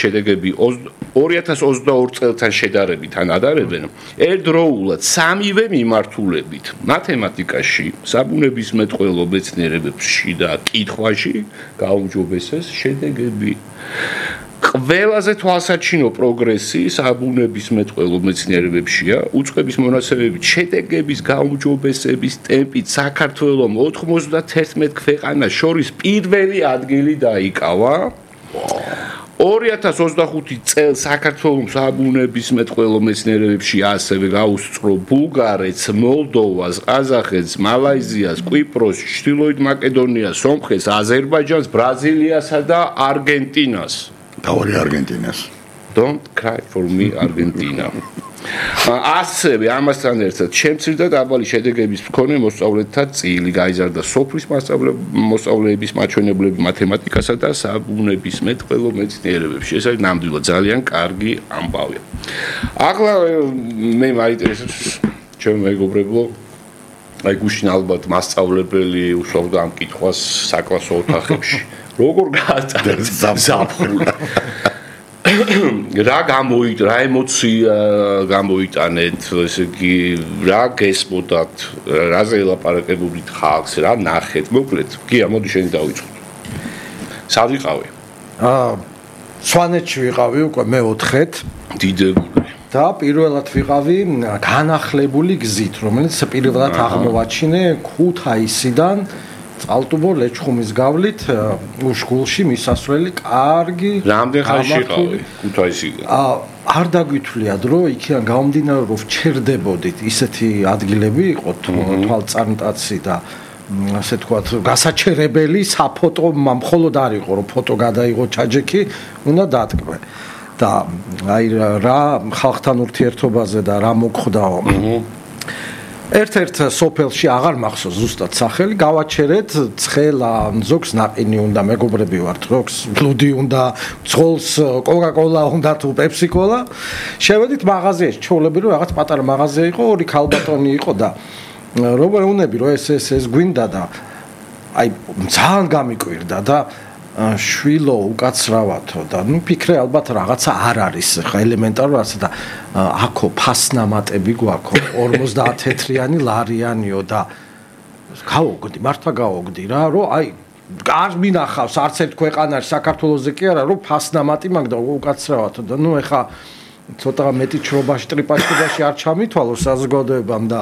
შედეგები 2022 წელთან შედარებით ან ადარებენ ერთდროულად სამივე მიმართულებით მათემატიკაში, საბუნებისმეტყველო მეცნიერებებში და კითხვაში გაუმჯობესეს შედეგები. ყველაზე თვალსაჩინო პროგრესი საბუნებისმეტყველო მეცნიერებებშია, უწყების მონაცემებით შედეგების გაუმჯობესების ტემპით საქართველომ 91 ქვეყანას შორის პირველი ადგილი დაიკავა. 2025 წელს საქართველოს საბუნებისმეტყველო მეცნიერებებში ასევე გაუსწრო ბულგარეთს, მოლდოვას, ყაზახეთს, მალაიზიას, კვიპროსს, ჩრდილოეთ მაკედონიას, სომხეთს, აზერბაიჯანს, ბრაზილიასა და არგენტინას. Davori Argentinas. Don't cry for me Argentina. ასევე ამასთან ერთად შემცირდა დაბალი შედეგების მქონე მოსწავლეთა წილი, გაიზარდა სოფლის მოსწავლეების მაჩვენებლები მათემატიკასა და საბუნებისმეტყველო მეცნიერებებში. ეს არის ნამდვილად ძალიან კარგი ამბავი. ახლა მე მაინტერესებს ჩემ მეგობრებო, აი გუშინ ალბათ მასწავლებელი უშუალოდ ამ კითხვას საკლასო ოთახებში. როგორ გაატარეთ ზაფხული? რა ემოცია გამოიტანეთ, ესე იგი, რა გესმოდათ, რაზე ელაპარაკებოდით ხალხს, რა ნახეთ, მოკლედ. გია, მოდი შენი დავიწყოთ. სად ვიყავი? სვანეთში ვიყავი უკვე მე-4-ეთ. დიდებული. და პირველად ვიყავი განახლებული გზით, რომელიც პირველად აღმოვაჩინე ქუთაისიდან წალტუბო ლეჩხუმის გავლით უშგულში მისასვლელი კარგი რამდენ ხანში იყავი ქუთაისიდან? არ დაგვითვლიათ რომ იქიდან გამომდინარე რომ ვჩერდებოდით ისეთი ადგილები იყო თვალწარმტაცი და ასე თქვათ გასაჩერებელი საფოტო მხოლოდ არ იყო რომ ფოტო გადაიღო ჩაჯექი უნდა დატკბე და აი რა ხალხთან ურთიერთობაზე და რა მოხდაო ერთ-ერთ სოფელში აღარ მახსოვს ზუსტად სახელი, გავაჩერეთ ცხელა, ზოგს ნაყინი უნდა, მეგობრები ვართ, ზოგს ბლუდი უნდა, ცხოლს კოკა-კოლა უნდა თუ პეპსი-კოლა. შევედით მაღაზიაში, ჩაოლები რომ რაღაც პატარა მაღაზია იყო, ორი ქალბატონი იყო და როგორ უნები რომ ეს გვინდა და აი ძალიან გამიკვირდა და შვილო უკაცრავათო და ნუ ფიქრე ალბათ რაღაცა არ არის ხა ელემენტარულად და აქო ფასნამატები გვაქვს 50 თეთრიანი ლარიანიო და გავოგდი მართლა გავოგდი რა რომ აი არ მინახავს არც ერთ ქვეყანაში საქართველოსზე კი არა რომ ფასნამატი მაგ და უკაცრავათო და ნუ ეხა ცოტა მეტი ჩრობაში ტრიპაშობაში არ ჩამითვალო საზოგადოებამ და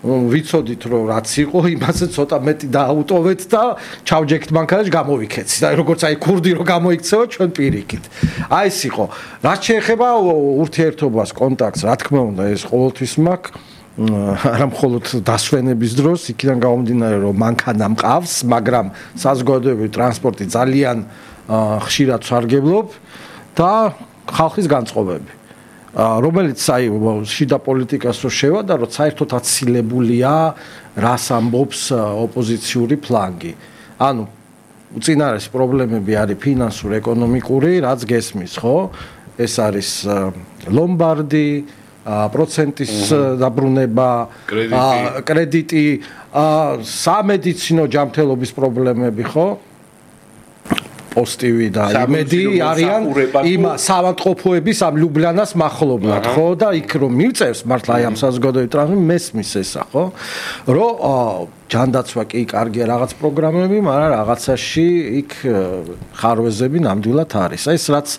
ვიცოდით რომ რაც იყო იმაზე ცოტა მეტი დააუტოვეთ და ჩავჯექთ მანქანაში გამოვიქეცი და როგორც აი ქურდი რომ გამოიქცევა ჩვენ პირიქით აი ეს იყო რაც შეეხება ურთიერთობას კონტაქტს რა თქმა უნდა ეს ყოველთვის მაქვს არა მხოლოდ დასვენების დროს იქიდან გამომდინარე რომ მანქანა მყავს მაგრამ საზოგადოებრივი ტრანსპორტი ძალიან ხშირად სარგებლობ და ხალხის განწყობები რომელიც აი შიდა პოლიტიკას რო შევა და რომ საერთოდ აცილებულია რას ამბობს ოპოზიციური ფლანგი. ანუ უწინარეს პრობლემები არის ფინანსური, ეკონომიკური, რაც გესმის, ხო? ეს არის ლომბარდი, პროცენტის დაბრუნება, კრედიტი, სამედიცინო ჯანმრთელობის პრობლემები, ხო? პოსტივი და იმედი არიან იმ საავადმყოფოების ამ ლიუბლიანას მახლობლად ხო და იქ რომ მივწევს მართლა აი ამ საზოგადოებრივ ტრანსპორტში მესმის ესა ხო რომ ჯანდაცვა კი კარგია რაღაც პროგრამები მაგრამ რაღაცაში იქ ხარვეზები ნამდვილად არის ეს რაც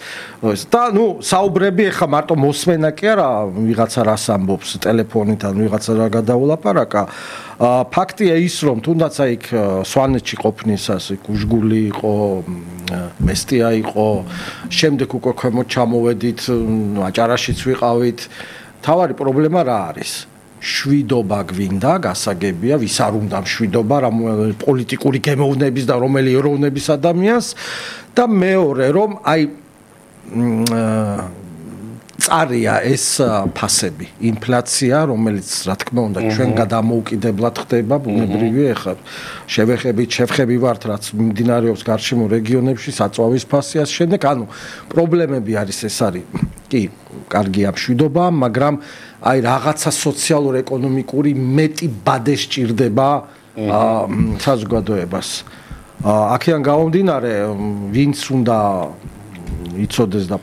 და ნუ საუბრები ეხა მარტო მოსმენა კი არა ვიღაცა რას ამბობს ტელეფონით ან ვიღაცა რა გადაულაპარაკა ფაქტია ის რომ თუნდაც აი იქ სვანეთში ყოფნისას იქ უშგული იყო მესტია იყო შემდეგ უკვე ქვემოთ ჩამოვედით აჭარაშიც ვიყავით თავარი პრობლემა რა არის შვიდობა გვინდა გასაგებია ვის არ უნდა შვიდობა რა პოლიტიკური გემოვნების და რომელი ეროვნების ადამიანს და მეორე რომ აი წარია ეს ფასები ინფლაცია რომელიც რა თქმა უნდა ჩვენ გადამოუკიდებლად ხდება ბუნებრივია ეხლა შევხები ვართ რაც მიმდინარეობს გარშემო რეგიონებში საწვავის ფასი ასე შემდეგ ანუ პრობლემები არის ეს არის კი კარგია მშვიდობა მაგრამ აი რაღაცა სოციალურ-ეკონომიკური მეტი ბადე სჭირდება საზოგადოებას აქედან გამომდინარე ვინც უნდა იცოდეს და